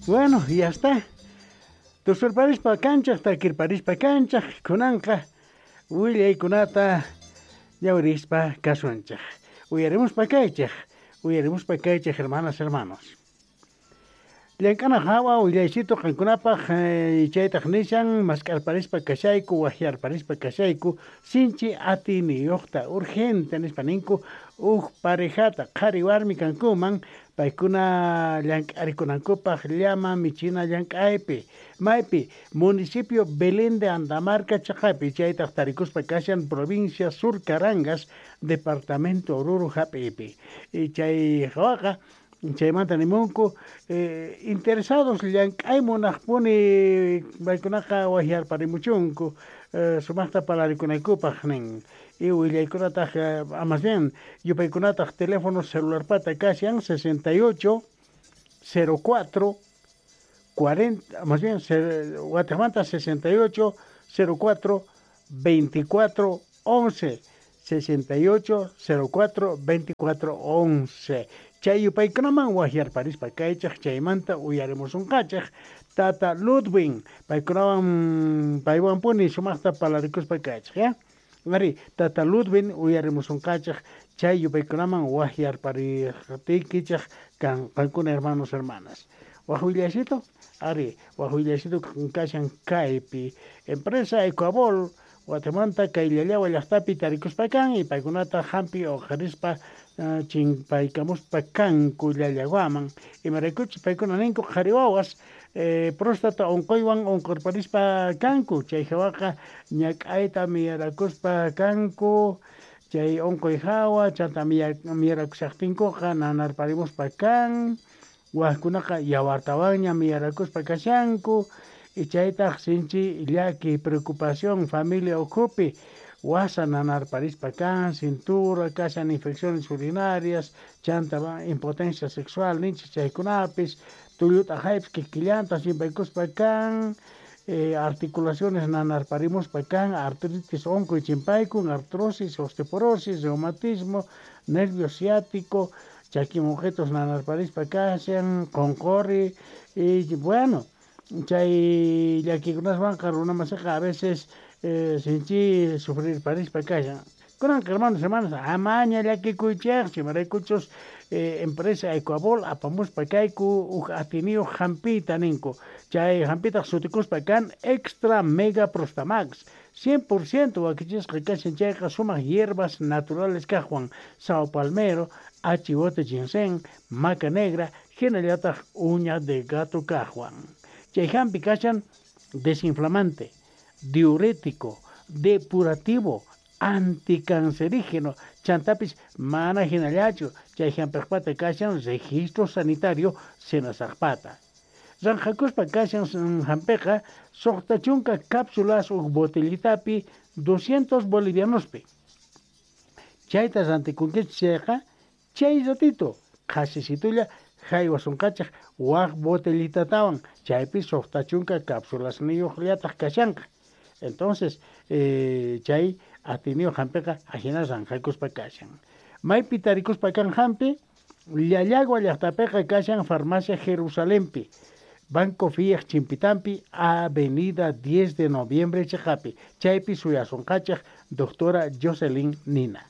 Bueno, ya está. Tusurparispa kanchaj, takirparispa kanchaj, kunanqa willaykunata ñawirispa kasunchaj. Uyarimuspa kaychaj, uyarimuspa kaychaj, hermanas, hermanos. Llank'ana hawa willaysitu qankunapaq chaytaq nishan mask'arparispa kashayku, wajyarparispa kashayku, sinchi atiniyuqta, urgente nispa ninku, uj parejata qhari warmi kankuman, paykuna llank'arikunankupaq llama michina llank'aypi, maypi municipio Belén de Andamarca chaqapi, chaytaq tarikuspa kashan provincia Sur Carangas, departamento Oruro hap'ipi. Chay hawaqa chaymanta nimunku interesados llank'ay munaqpuni paykunaqa wajyarparimuchunku sumaqta parlarikunaykupaq nin. Y willaykunataq más bien yupaykunataq teléfono celularpata kashan 68 04 40, más bien Guatemala 68 04 24 11, 68 04 24 11. Chay yupaykunaman wajyarparispa kaychaj chaymanta uyarimusunqachej tata Ludwig paykunawan paywanpuni sumaqta parlarikuspa kaychej, ya? Ari, tata Ludwig uyarimusunqachej chay yupaykunaman wajyarpariqtiykichej qankuna hermanos, hermanas. Waj willaysitu, ari, waj willaysitu kashan kaypi empresa Ecuabol Guatemala kay Llallawa llaqtapi tarikuspa kan y paykunata hampi uqharispa chimpaykamuspa kanku Llallawaman imaraykuchus paykuna ninku qhari wawas próstata unquywan unqurparispa kanku chay hawaqa ñak'ayta miyarakuspa kanku chay unquy hawa chanta miyarakushaqtinkuqa nanarparimuspa kan wajkunaqa yawartawanña miyarakuspa kashanku y chaytaq sinchi llaki preocupación familia ukhupi wasa nanarparispa kan cintura kashan infecciones urinarias chanta impotencia sexual ninchik chaykunapis tullut'aqaypis kikillanta chimpaykuspa kan articulaciones nanarparimuspa kan artritis unquy chimpaykun artrosis osteoporosis reumatismo nervio ciático chaki muqitus nanarparispa kashan qunquri y bueno chay llakikunaswanqa runa masiqa a veces sinchi sufrirparispa kashan. Kunanqa hermanos, hermanas, amaña llakikuychejchu imaraykuchus empresa Ecuabol apamuspa kayku uj atiniyuq hampiyta ninku. Chay hampitaq sutikuspa kan Extra Mega Prostamax 100% wakichisqa kashan chayqa sumaq hierbas naturales kaqwan sao palmero, achiwote ginseng, maca negra, hinallataq uña de gato kaqwan. Chay hampi kashan desinflamante, diurético, depurativo, anticancerígeno, chantapis mana hinallachu, chay hampiqpata kashan registro sanitario senasaqpata. Ranqhakuspa kashan hampiqa suqta chunka cápsulas uj botellitapi 200 bolivianospi. Chayta rantikunkichik chayqa chay ratito qhasisitulla haywasunqachej waj botellitatawan chaypi suqta chunka cápsulasniyuqllataq kashanqa. Entonces, chay atiniyuq hampiqa ajina ranqhakuspa kashan. Maypi tarikuspa kan hampi, Llallagua llaqtapiqa kashan Farmacia Jerusalempi, Banco Fiat Chimpitampi, Avenida 10 de Noviembre chiqapi, chaypi suyasunqachej doctora Jocelyn Nina.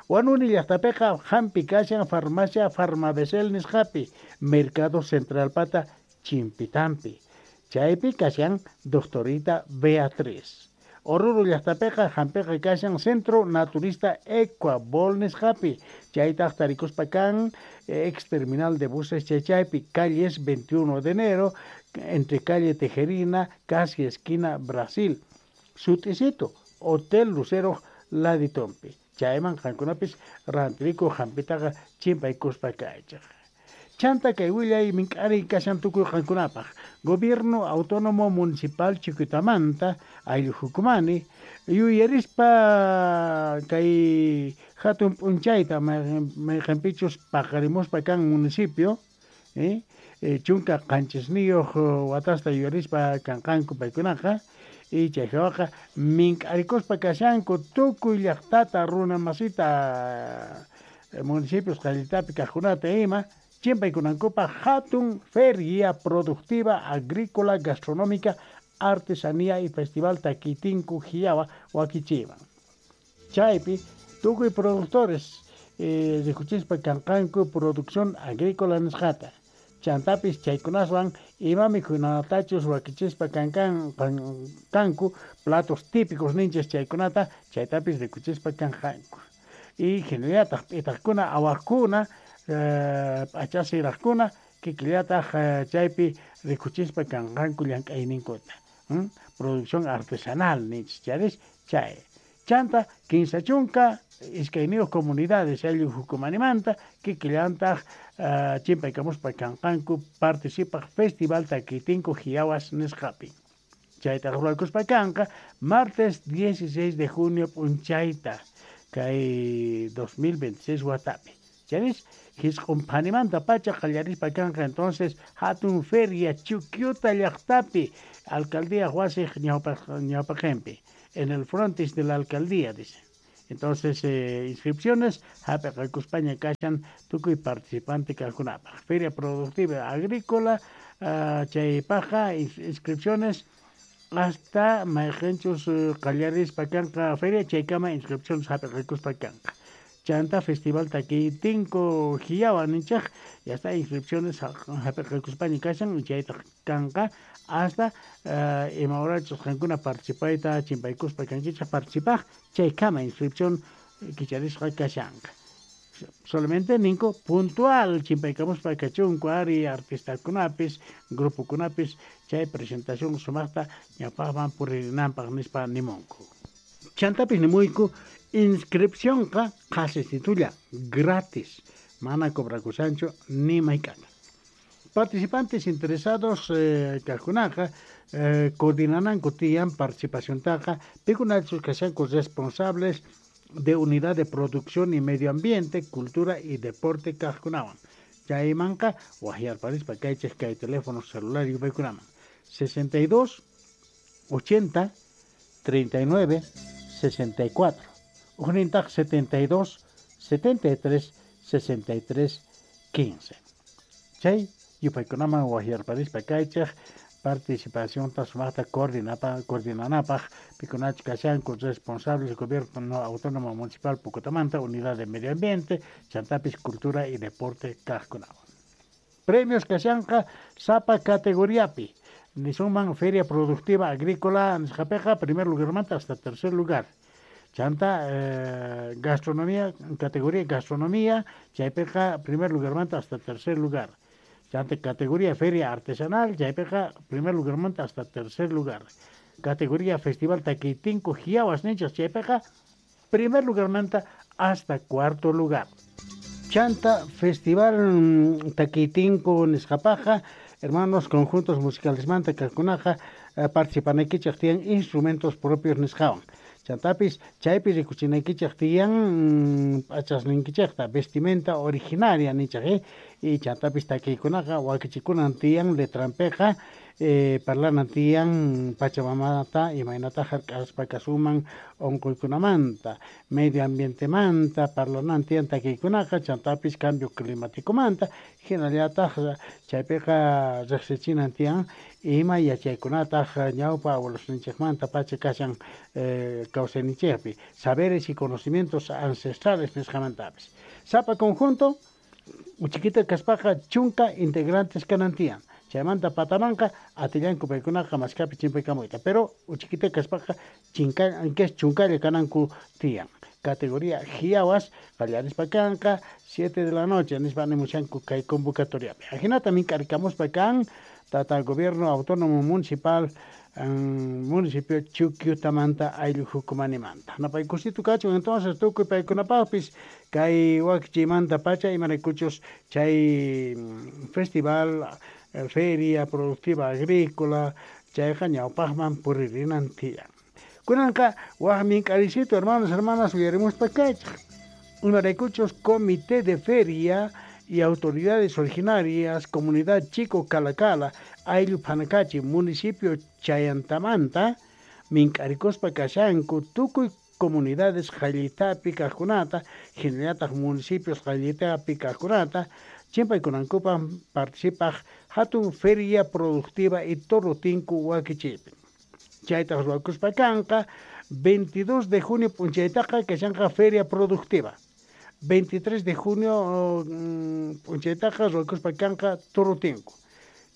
Huanuni llaqtapiqa hampi kashan Farmacia Farmabesel nisqapi, Mercado Central pata Chimpitampi, chaypi kashan doctorita Beatriz. Oruro llaqtapiqa hampiqa kashan Centro Naturista Ecuabol nisqapi, chaytaq tarikuspa kan ex terminal de buses chaychaypi, calles 21 de enero, entre calle Tejerina, casi esquina Brasil. Sut'isito, Hotel Lucero laditompi. Chayman qankunapis rantiriku hampitaqa chimpaykuspa kaychaq. Chanta kay willay mink'ari kashan tukuy qankunapaq. Gobierno Autónomo Municipal Chuquitamanta, ayllu hukumani, yuyarispa kay hatun p'unchayta mayqinpichus paqarimuspa kan municipio, chunka qanchisniyuq watasta yuyarispa kanqanku paykunaqa, y chay hawaqa mink'arikuspa kashanku tukuy llaqtata runa masita municipios qallitapi kaqkunata ima. Chimpaykunankupaj hatun feria productiva agrícola gastronómica artesanía y festival Takitinku Jiawa wakichiwan. Chaypi tukuy productores rikuchispa kanqanku producción agrícola nisqata. Chantapis chaykunaswan ima mikhunatachus wakichispa kanku platos típicos ninchis chaykunata chaytapis rikuchispa kanqanku. Y hinallataq p'itaqkuna awaqkuna p'achasiraqkuna kikillataq chaypi rikuchispa kanqanku llank'ayninkuta. Producción artesanal ninchis charis chay. Chanta 32 comunidades ayllu hukumanimanta kikillantaq chimpaykamuspa kanqanku participaq festival Takitinku Jiawas nisqapi. Chaytaq ruwakuspa kanqa martes 16 de junio p'unchayta kay 2026 watapi. Charis hisq'unphanimanta pacha qallarispa kanqa entonces hatun feria Chuquiuta llaqtapi alcaldía wasiq ñawpaqinpi en el frontis de la alcaldía dice. Entonces inscripciones hap'iqakuspaña kashan tukuy participante kaqkunapaq. Feria productiva agrícola chaypaqqa inscripciones hasta mayqinchus qallarispa kanqa feria chaykama inscripciones hap'iqakuspa kanqa. Chanta festival Takitinku Jiawa ninchej ya está inscripciones hap'iqakuspaña kashan chaytaq kanqa hasta ima horachus qankuna participayta chimpaykuspa kankichej participaj chaykama inscripción kicharisqa kashanqa. Solamente ninku puntual chimpaykamuspa kachunku ari artistakunapis grupokunapis chay presentación sumaqta ñawpaqman puririnanpaq nispa nimunku. Chantapis nimuyku inscripcionqa qhasisitulla gratis mana cobrakushanchu ni mayk'ata. Participantes interesados kaqkunaqa coordinananku tiyan participaciontaqa pikunachus kashanku responsables de unidad de producción y medio ambiente, cultura y deporte kaqkunawan. Chaymanqa waqyarparispa kaychej kay teléfono celular yupaykunaman 62 80 39 64 ujnintaq 72 73 63 15. Chay yupaykunaman waqyarparispa kaychej participacionta sumaqta coordinanapaq pikunachus kashanku responsables gobierno autónomo municipal Pucotamanta, unidad de medio ambiente, chantapis cultura y deporte kaqkunawan. Premios kashanqa sapa categoriapi. Nisunman feria productiva agrícola nisqapiqa primer lugarmanta hasta tercer lugar. Chanta gastronomía, categoría gastronomía, chaypiqa primer lugarmanta hasta tercer lugar. Chanta categoría feria artesanal, chaypiqa primer lugarmanta hasta tercer lugar. Categoría festival Takitinku Jiawas ninchas, chaypiqa primer lugarmanta hasta cuarto lugar. Chanta festival Takitinku nisqapaqa, hermanos conjuntos musicales manta kaqkunaqa participanaykichej tiyan instrumentos propios nisqawan. Chantapis chaypi rikuchinaykichej tiyan p'achasninkichejta vestimenta originaria nichej y chantapis takiykunaqa wakichikunan tiyan letranpiqa parlanan tiyan pachamamata imaynata hark'aspa kasuman unquykunamanta medio ambientemanta parlanan tiyan takiykunaqa chantapis cambio climaticomanta hinallataq chaypiqa riqsichinan tiyan ima yachaykunataq ñawpa abuelosninchikmanta pacha kashan kawsayninchikpi saberes y conocimientos ancestrales nisqamantapis. Sapa conjunto uchikita kaspaqa chunka integrantes kanan tiyan. Chaymanta patamanqa atillanku paykunaqa maskapi chimpaykamuyta, pero uchikita kaspaqa chunkalla kananku tiyan. Categoría Jiawas qallarispa kanqa 7 de la noche nispa nimushanku kay convocatoriapi. Ajinata mink'arikamuspa kan tata gobierno autónomo municipal municipio Chuquiutamanta ayllu hukumanimanta. Napaykusitu kachun entonces tukuy paykunapaqpis kay wakichiymanta pacha imaraykuchus chay festival feria productiva agrícola chayqa ñawpaqman puririnan tiyan. Kunanqa waq mink'arisitu hermanos hermanas uyarimuspa kaychej. Imaraykuchus comité de feria y autoridades originarias, comunidad Chico Calacala, ayllu Panacachi, municipio Chayantamanta, mink'arikuspa kashanku tukuy comunidades qallitapi kaqkunata, hinallataq municipios qallitapi kaqkunata, Chimpaykunankupaj participaj hatun feria productiva y toro tinku wakichiypi. Chaytaj ruwakuspa kanqa 22 de junio p'unchaytaqa kashanqa feria productiva. 23 de junio p'unchaytaqa ruwakuspa kanqa toro tinku.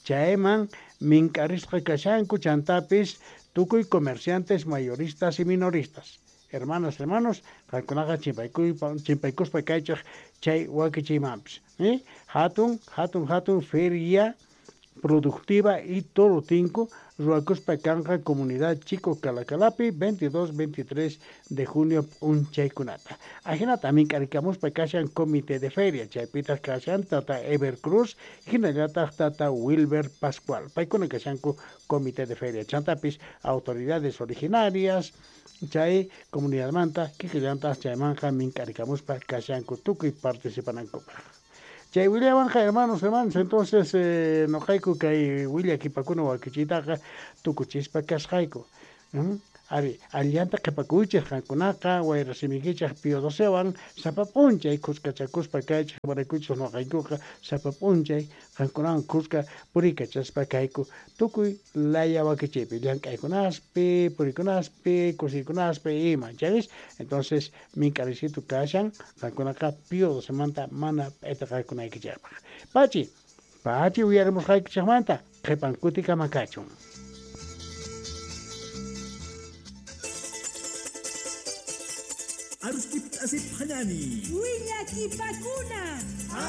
Chayman mink'arisqa kashanku chantapis tukuy comerciantes mayoristas y minoristas. Hermanas, hermanos, qankunaqa chimpaykuspa kaychej chay wakichiymanpis. Hatun, hatun, hatun feria productiva y toro tinku ruwakuspa kanqa comunidad Chico Calacalapi 22, 23 de junio p'unchaykunata. Ajinata mink'arikamuspa kashan comité de feria, chaypitaq kashan tata Ever Cruz, hinallataq tata Wilber Pascual. Paykuna kashanku comité de feria, chantapis autoridades originarias, chay comunidadmanta kikillantaq chaymanqa mink'arikamuspa kashanku tukuy participanankupaq. Chay willawanja hermanos, hermanos, entonces noqayku kay willakipakuna wakichiytaqa tukuchispa kasqayku. Ari, allanta qhipakuychej qankunaqa wayrasimiykichej Pío Docewan sapa p'unchay khuskachakuspa kaychej imaraykuchus noqaykuqa sapa p'unchay qankunawan khuska puriykachaspa kayku tukuy laya wakichiypi llank'aykunaspi, purikunaspi, kusiykunaspi ima, chaypis entonces mink'arisitu kashan qankunaqa Pío Docemanta mana p'itaqakunaykichejpaq. Pachi, pachi uyarimusqaykichejmanta qhipan kutikama kachun. Arustip asip hanani. Willakipakuna.